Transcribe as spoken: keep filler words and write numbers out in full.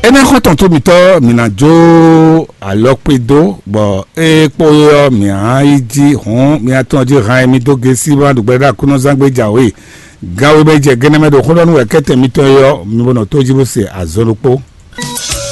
Énɛ́ xɔ́ntɔn tó mǐtɔn, mǐ ná jó alɔkpé dó, bɔ é kpó é ɔ́, mǐ á yi jí hǔn, mǐ á tɔ́n jí han e mì dó gěsí bó ná ɖu gbɛɖé ɖo Aklúnɔzán gbé jǎwe. Gan we mɛ jɛ gɛnɛ mɛ ɖo xó ɖɔ nú wɛ kɛ́tɛn mitɔn é ɔ́, mi bo nɔ tó jí bó se azɔn ɖokpó.